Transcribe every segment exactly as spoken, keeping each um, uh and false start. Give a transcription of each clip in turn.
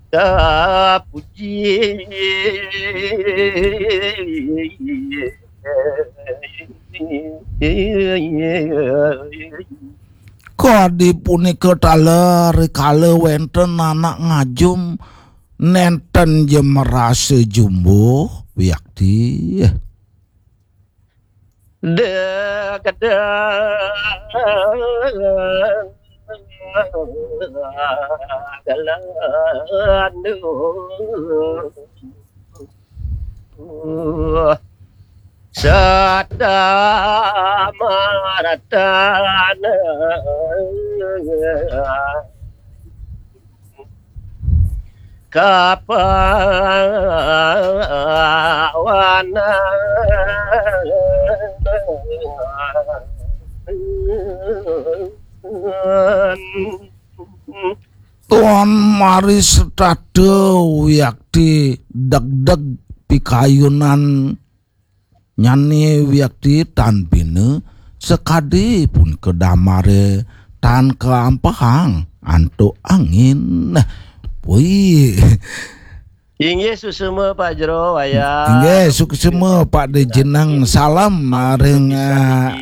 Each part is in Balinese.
Terpuji. Kadi punika taler kala wenten anak ngajum nenten ja merasa jumbuh wiakti. Tuan mari setata wiakti degdeg pikayunan nyane wiakti tan bina sekadi pun kedamare tan keampehang antuk angin. Wih. Inggih suksema Pak Jero wayah. Inggih suksema Pak Dejeneng, salam ring ah,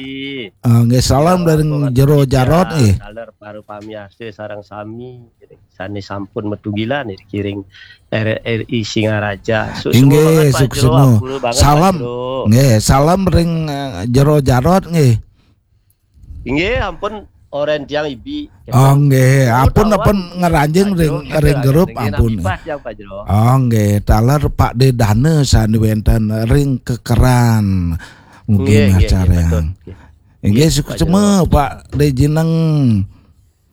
ah, nggih salam dari Jero Jarot eh. Taler para pamiarsa sareng sami sane sampun metugilan kiring R R I Singaraja. Inggih suksema. Salam. Nggih salam ring ah, Jero Jarot nggih. Inggih ampun oren tiang ibi. Oh nggih, ampun ampun ngeranjing ring ring grup ampun. Oh nggih, taler Pak De Dana sane wenten ring kekeran. Mungkin acara. Inggih suksema Pak De Jineng.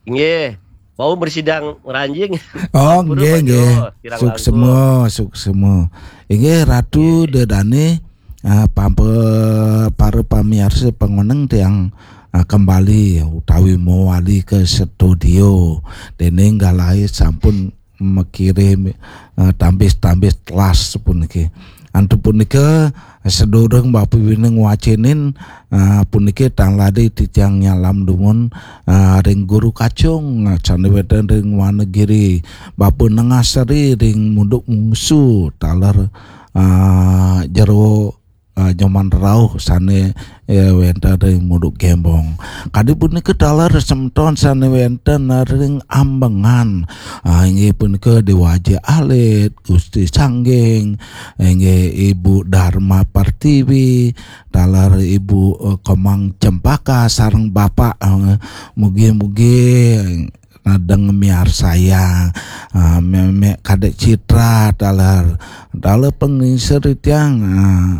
Inggih. Wau bersidang ngeranjing. Oh nggih nggih. Suksema, suksema. Inggih Ratu De Dane. Ah, pampa para pamiarsa pangoneng tiang ah, kembali utawi mewali ke studio. Dene nggalahe sampun mekirim ah, tambis-tambis telas puniki. Antu punika sedurung Bapak Wineng wacenin ah, puniki tang lade titiang nyalam dumun ah, ring guru kacung ah, sane wenten ring Wanagiri, Bapak Nengasari ring Munduk Mungsu taler ah, jero ah, nyoman rauh sane eh, wenten ring Munduk Gembong. Kadi punika taler semeton sane wenten ring Ambengan. Ah, inggih punika Dewa Aji Alit, Gusti Sangging, inggih Ibu Dharma Pertiwi, taler Ibu eh, Komang Cempaka sareng Bapak eh, mugi-mugi nadeng miarsayang ah, memek kadek citra taler taler pengingsir tiang ah,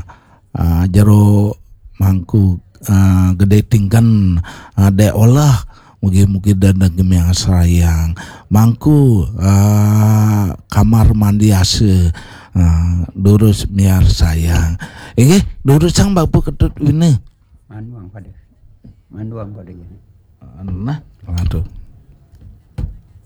ah, jero mangku ah, gede tingken ah, dek olah mugi-mugi dadeng miarsayang mangku ah, kamar mandi asa ah, durus miarsayang inggih durusang bapa ketut wina manuang pada manuang pada nah aduh